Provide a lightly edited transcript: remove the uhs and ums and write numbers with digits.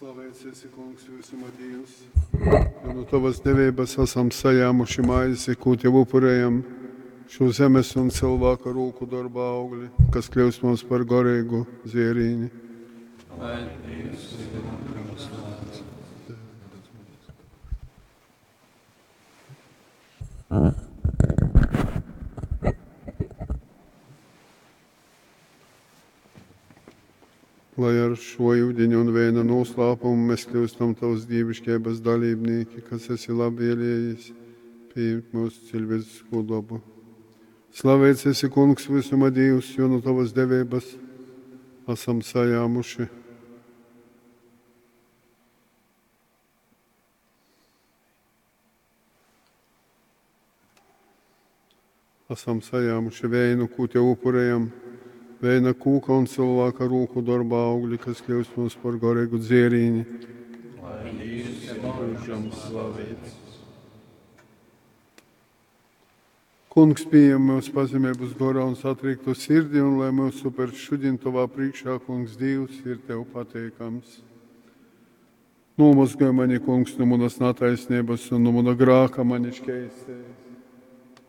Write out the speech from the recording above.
Slaveits esi, Kungs, vysuma Dīvs, jo nu Tovas deveibas asam sajāmuši maizi, kū Tev upurejam, šū zemes un cylvāka rūku dorba augli, kas kļyust mums par goreigu dzierīni. Lai Dīvs ir myužam slaveits. Lai ar šo yudiņa un veina noslēpumu mēs kļūstam Tavas dievišķības dalībnieki, kas esi labvēlējies pieņemt mūsu cilvēcisko dabu. Slaveits esi, Kungs, visuma Dievs, jo no Tavas devības esam sajāmuši. Esam sajāmuši veinu, ko Tev upurējam, veina kūka un cilvēka rūku darba augļi, kas kļūst mums par garīgu dzierīni. Lai Dīvs ir mūžam slaveits. Kungs pieņem mūsu pazemības gorā un satriektu sirdi, un lai mūsu upers šodien tavā priekšā, Kungs Dievs, ir tev pateikams. Nomazgāj mani, Kungs, no manas netaisnības un no mana grāka mani šķeistē.